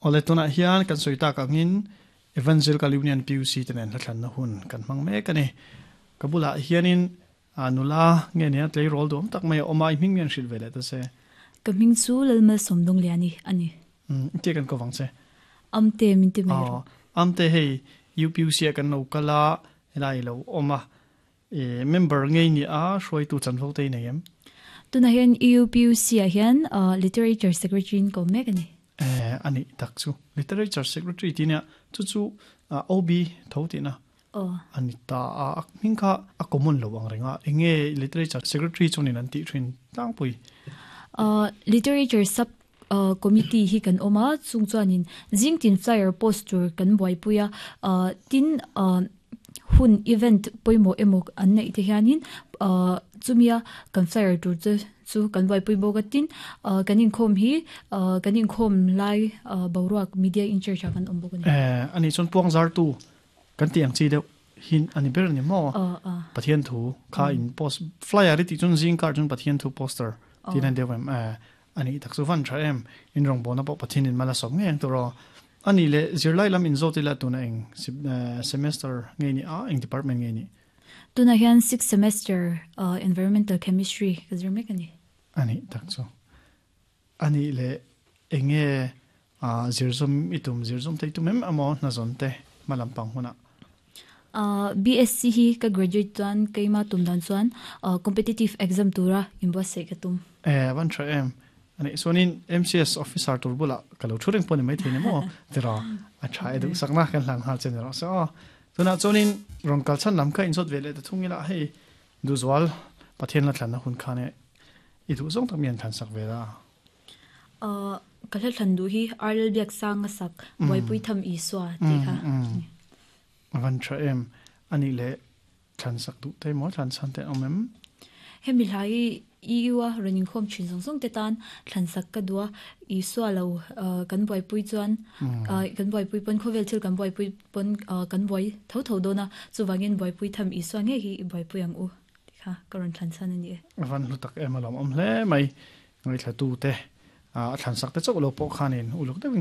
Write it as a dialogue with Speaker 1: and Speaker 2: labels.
Speaker 1: Awle tunah hian kan sawi tak angin Evangelical Union PUC te nen hlathlanna hun kan hmang mek a ni. Ka bulah hianin nula nge nia tleirawl duam tak mai a awm a, i hming mian hrilh ve leh ta se.
Speaker 2: Ka hming chu Lalmalsawmdawngliani a ni.
Speaker 1: Umm tia kan ko vang che.
Speaker 2: Amte min ti mai rawh.
Speaker 1: Amte hei UPUC ah kan lo kal a, helai i lo awm a. I member ngei ni a hruaitu chanvo te i nei em?
Speaker 2: Tunah hian UPUC ah hian Literature Secretary in ka awm mek a ni.
Speaker 1: Eh a nih tak chu. Literature Secretary tih nia chu chu OB tho tihna a ni ta a, a hming kha a common lo ang reng a, eng nge Literature Secretary chuanin an tih thin tlangpui?
Speaker 2: Literature sub Committee hi kan awm a, chung chuanin zing tin flyer post tur kan buaipui a, tin hun event pawimawh emaw an neih te hianin chumia kan flyer tur te chu kan buaipui bawk a, tin kan inkhawm hi kan inkhawm lai boruak media in charge ah kan awm bawk a ni.
Speaker 1: Ani chuan puang zartu kan tih ang chi deuh hi a ni ber a ni maw? Pathian thu kha in post flyer i tih chuan zing kar chuan Pathian thu poster tih na deuh em? A nih tak chu van tha em? In rawngbawlna pawh Pathian in mal a sawm ngei ang tur aw. A nih leh zirlai lam in zawt ila tuna eng semester nge ni a, eng department nge ni?
Speaker 2: Tunah hian sixth semester Environmental Chemistry ka zir mek a ni.
Speaker 1: A nih tak chu. A nih leh eng nge zirzawm i tum, zirzawm te i tum em emaw hnazawn te hma lampang hunah?
Speaker 2: BSc hi ka graduate chuan keima tum dan chuan competitive exam tura inbuatsaih ka tum.
Speaker 1: Eh, a van tha em. Ani chuanin MCS officer tur bulah ka lo thu reng pawh ni maithei ni maw tiraw a tha e duhsakna kan hlan nghal che ni rawh se aw. Tunah chuanin rawn kal chhan lam kha inzawt ve leh ta thung ila hei duhzual Pathian la thlanna hun khan e i duh zawng tak mi an thlansak ve la.
Speaker 2: Ka hla thlan duh hi Arlel Biaksanga sak Buaipui Tham Isua tih kha a ni.
Speaker 1: A van tha em? A nih leh thlan sak duh te maw thlan chhan te an awm em?
Speaker 2: Hemi hla hi EU a rawn inkhawm thin zawng zawng te tan thlan sak ka duh a, Isua lo kan buaipui chuan kan buaipui pawn khawvel thil kan buaipui pawn kan buai tho tho dawn a, chuvangin buaipui tham Isua ngei hi i buaipui ang u tih kha ka rawn thlan chhan a ni e.
Speaker 1: A van hlu tak em a lawmawm hle mai. Ngaithlatute a thlansak te chauh lo pawh khanin uluk deuhin.